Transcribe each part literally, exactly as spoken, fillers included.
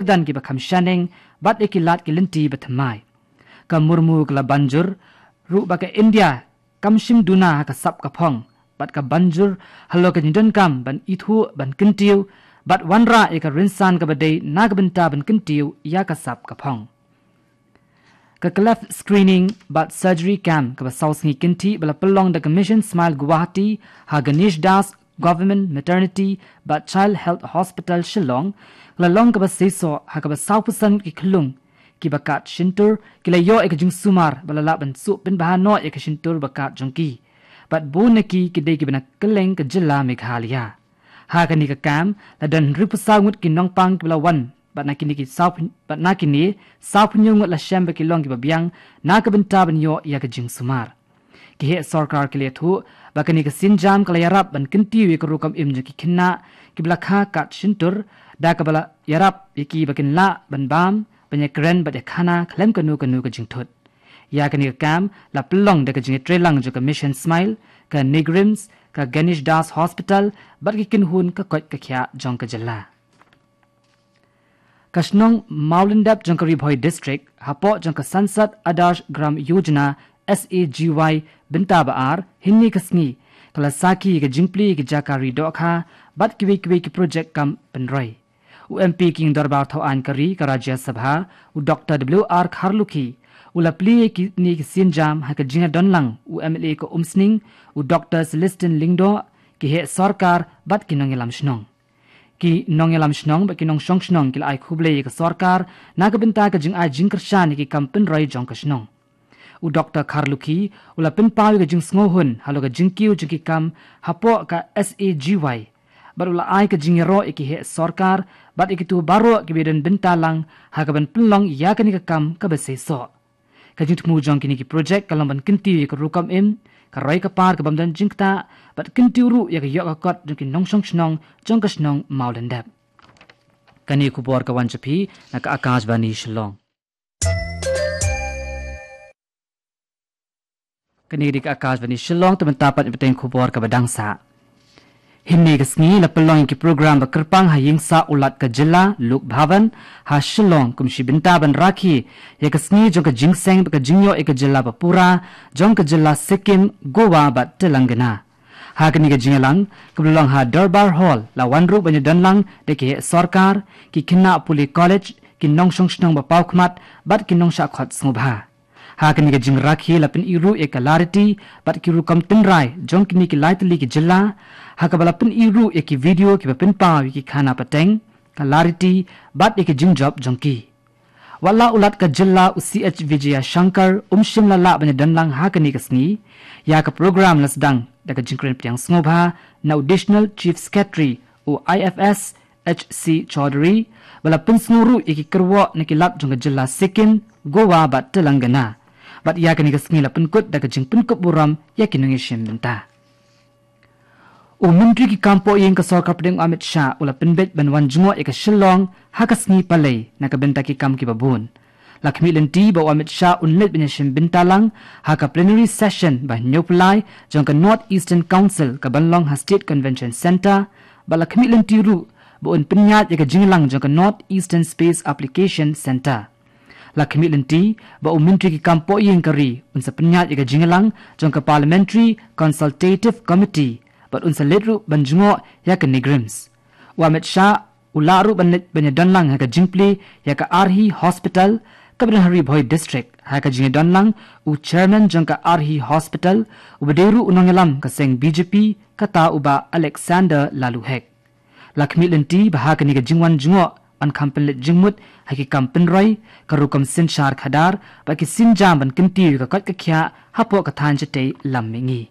kyrdan kiba kham shaneng bad ïa ki lad ki lynti bathymmai. Ka Murmu ka la ban jur ruh ba ka India kam shim duna ha ka sap ka phong bad ka ban jur halor ka jingdonkam ban ithuh, ban kyntiew bad wanrah ïa ka rynsan kaba dei na ka bynta ban kyntiew ïa ka sap ka phong. Ka cleft screening bad surgery camp kaba saw sngi kynthih ba la pynlong da ka Mission Smile Guwahati ha Ganesh Das Government Maternity bad Child Health Hospital Shillong, ka la long kaba seisoh ha kaba saw percent ki khyllung kiba kad shyntur ki la ïoh ïa ka jingsumar ba la lah ban suh pynbha noh ïa ka shyntur ba kad jong ki. Bad bun na ki ki dei kiba na kylleng ka jylla Meghalaya. Ha kane ka camp la don hynriewphew saw ngut ki nongpang kiba la wan bad na kine ki saw phen-, bad na kine saw phew hynñiew ngut la shem ba ki long kiba biang na ka bynta ban ïoh ïa ka jingsumar. Ki heh sorkar ki la ïathuh ba kane ka sienjam ka la ïarap ban kyntiew ïa ka rukom im jong ki khynnah kiba la kha kad shyntur, da kaba la ïarap ïa ki ba kin lah ban bam, ban ïakren bad ïakhana khlem kano kano ka jingthut. Ïa kane ka camp la pynlong da ka jingïatreilang jong ka Mission Smile, ka NEIGRIHMS, ka Ganesh Das Hospital bad ki kynhun ka koit ka khiah jong ka jylla. Ka shnong Mawlyndep jong ka Ri Bhoi District, hapoh jong ka Sansad Adarsh Gram Yojana, S A G Y, bynta ba ar, hynne ka sngi ka la sakhi ïa ka jingplie ïa ki jaka ri dohkha bad kiwei kiwei ki projek kam pynroi. U M P King Dorbar Thawaiñ ka Ri ka Rajya Sabha, u Doctor W R Kharlukhi, u la plie ïa kine ki sienjam ha ka jingïadonlang u M L A ka Umsning, u Doctor Celestine Lyngdoh, ki heh sorkar bad ki nongïalam shnong. Ki nongïalam shnong bad ki nongshong shnong ki la ai khublei ïa ka sorkar na ka bynta ka jingai jingkyrshan ïa ki kam pynroi jong ka shnong. U Doctor Kharlukhi u la pynpaw ïa ka jingsngewhun halor ka jingkiew jong ki kam hapoh ka S A G Y bad u la ai ka jingïaroh ïa ki heh sorkar bad ïa kito baroh kiba ïadon bynta lang ha kaban pynlong ïa kane ka kam kaba seisoh. Ka jingthmu jong kine ki projek ka long ban kyntiew ïa ka rukom im, ka roi ka par kabym don jingktah bad kyntiew ruh ïa ka ïoh ka kot jong ki nongshong shnong jong ka shnong Mawlyndep. Kane ka khubor ka wan sha phi na ka Akashvani Shillong. Kane ka dei ka Akashvani Shillong, te mynta pat ïa ka bteng khubor kaba dang sah. Hynne ka sngi la pynlong ïa ki program ba kyrpang ha ïing sah u Lat ka jylla, Lok Bhavan, ha Shillong, kum shi bynta ban rakhe ïa ka sngi jong ka jingseng bad ka jingïoh ïa ka jylla ba pura jong ka jylla Sikkim, Goa bad Telangana. Ha kane ka jingïalang kaba la long ha Durbar Hall, la wan ruh ban ïadonlang da ki heh sorkar, ki khynnah pule college, ki nongshong shnong ba paw khmat bad ki nongshah khot sngewbha. Ha kane ka jingrakhe la pyni ruh ïa ka lariti bad ki rukom tynrai jong kine ki lai tylli ki jylla, ha kaba la pyni ruh ïa ki video kiba pynpaw ïa ki khana pateng, ka lariti bad ïa ki jingjop jong ki. Wat la u Lat ka jylla u C H Vijayashankar um shym la lah ban ïadonlang ha kane ka sngi, ïa ka program la sdang da ka jingkren pdiang sngewbha na u Additional Chief Secretary u I F S H C Chaudhary, ba la pynsngew ruh ïa ki kyrwoh na ki lad jong ka jylla Sikkim, Goa bad Telangana. Bad ïa kane ka sngi la pynkut da ka jingpynkup burom ïa ki nongïashim bynta. U Myntri ki kam pohïing ka Sorkar Pdeng u Amit Shah u la pynbeit ban wan jngoh ïa ka Shillong ha ka sngi Palei na ka bynta ki kam kiba bun. La khmih lynti ba u Amit Shah un leit ban ïashim bynta lang ha ka plenary session ba hynñiewphew lai jong ka North Eastern Council kaban long ha State Convention Centre, bad la khmih lynti ruh ba un pynïaid ïa ka jingïalang jong ka North Eastern Space Application Centre. La khmih lynti ba u Myntri ki kam pohïing ka ri un sa pynïaid ïa ka jingïalang jong ka Parliamentary Consultative Committee bad un sa leit ruh ban jngoh ïa ka NEIGRIHMS. U Amit Shah u lah ruh ban leit ban ïadonlang ha ka jingplie ïa ka Arhi Hospital kaba don ha Ri Bhoi District. Ha ka jingïadonlang u Chairman jong ka Arhi Hospital uba dei ruh u nongïalam ka seng B J P, kata u Bah Alexander Laloo Hek. La khmih lynti ba ha kane ka jingwan jngoh yn kham pynleit jingmut ha ki kam pynroi, ka rukom synshar khadar bad ki sienjam ban kyntiew ïa ka koit ka khiah hapoh ka thaiñ shatei lam mihngi.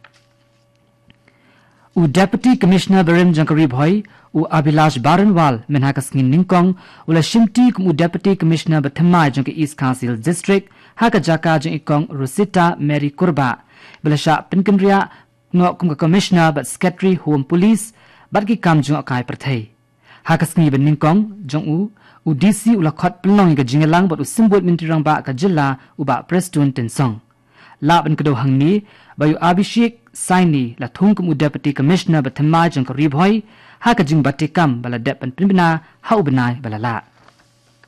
U Deputy Commissioner barim jong ka Ri Bhoi, u Abhilash Baranwal, mynha ka sngi Nyngkong u la shimti kum u Deputy Commissioner bathymmai jong ka East Khasi Hills District ha ka jaka jong i Kong Rosita Mary Kurbah, ba la shah pynkynriah noh kum ka Commissioner bad Secretary Home Police bad ki kam jngohkai pyrthei. Ha ka sngi ba nyngkong jong u, u D C u la khot pynlong ïa ka jingïalang bad u Symbud Myntri Rangbah ka jylla, u Bah Prestone Tynsong. Lah ban kdew hangne ba ïa u Abhishek Saini la thung kum u Deputy Commissioner bathymmai jong ka Ri Bhoi ha ka jingbate kam ba la dep ban pynbna ha u bnai ba la lah.